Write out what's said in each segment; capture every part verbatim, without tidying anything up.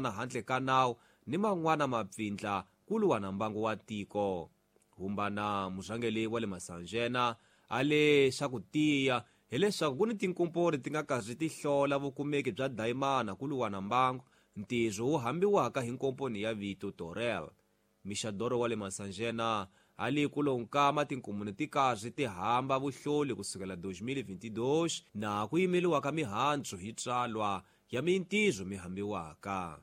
dayimana handle ka nawu ni man'wana mapfindla ku lwa na mbangu wa tiko. Humbana murhangeri wa le Masanjena a le xa ku tiya hileswaku ku ni tinkomponi ti nga karhi ti hlola vukumeki bya dayimana ku lwa na mbangu, ntirho wu hambiwaka hi nkomponi ya vito Torel. Mixadoro wa le Masanjena a le ku lonkama tinkomuni ti karhi ti hamba vuhloli kusukela twenty twenty-two na ku yimeliwa ka mihandzu hi tsalwa ya mintirho mi hambiwaka.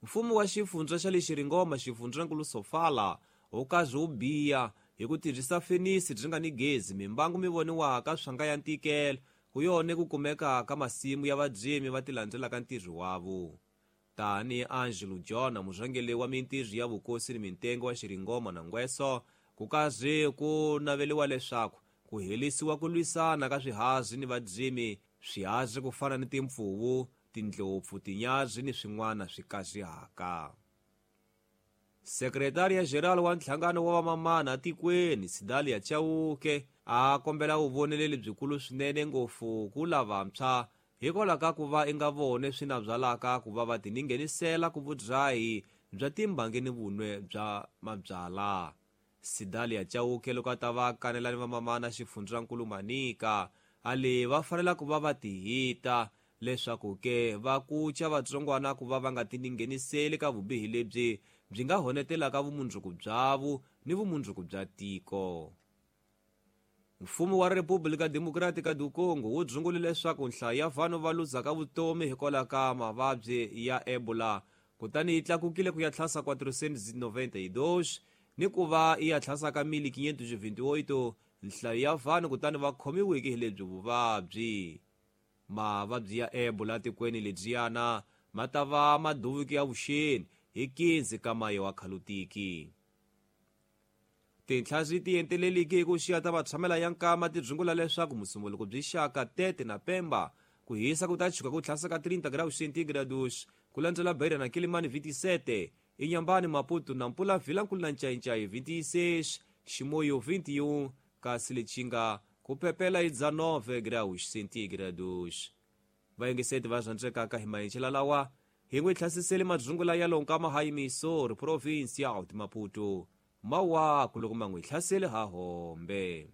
Mfumo wa xifundza xa le Xiringoma xifundzankulu Sofala wu karhi wu biya hi ku tirhisa fenisi byi nga ni gezi mimbangu mi voniwaka swanga ya ntikelo ku yone ku kumeka ka masimu ya vadzimi va tilandzelaka ntirho wavo. Tani Angelo John murhangeri wa mintirho ya vukosi ni mintengo wa Xiringoma na Ngweso ku karhi ku naveliwa leswaku ku helisiwa ku lwisana ka swihazi ni vadzimi, swihazi ku fana ni timpfuvu, tindlopfu, tinyazi ni swin'wana swi kazihaka. Sekretariya General wa nhlangano wa vamamana tikweni Sidalia Chauke a kombela vuvoneleli byikulu swinene ngopfu ku lavantshwa hikwalaho ka ku va i nga vone swi na byalaka ku va va tininghenisela ku vudzahi bya timbangi ni vunwe bya mabyala. Sidalia Chauke loko a ta va kanela ni vamamana xifundzankulu Manika a le va fanela ku va va tihita leswaku ke va kuca vatsongwana ku va va nga tiningheniseli ka vubihi lebyi byi nga honetelaka vumundzuku byavo ni vumundzuku bya tiko. Mfumo wa Republika Democratica do Congo wu dzungule leswaku nhlayo ya vanhu va luzaka vutomi hikwalaho ka mavabyi ya Ebola kutani yi tlakukile ku ya tlhasa quatrocentos e noventa e dois ni ku va yi ya tlhasaka mil quinhentos e vinte e oito nhlayo ya vanhu kutani va khomiweke hi lebyi vuvabyi. Mavabyi ya Ebola tikweni lebyiyana ma ta va maduvuki ya vuxeni hi quinze ka maye wa khalutiki. Tinhla ti enteleliki hi ku xiya ta vatshamela ya nkama ti dzungula leswaku musumbuluko byi xaka Tete na Pemba ku hisa ku ta chuka ku tlhasa ka trinta graus centígrados ku landzela Beira na Quilimane vinte e sete, Inhambane, Maputo na Nampula Vilankulu na Ncaincaí vinte e seis, Chimoio vinte e um, kasi Lichinga ku pepela hi dezenove graus centígrados. Vayingiseti va rhandzekaka hi maenxela lawa hi n'wi hlasisele madzungula ya lonkama ha Mysore province ya Maputo. Mawaku loko ma n'wi hlasele ha hombe.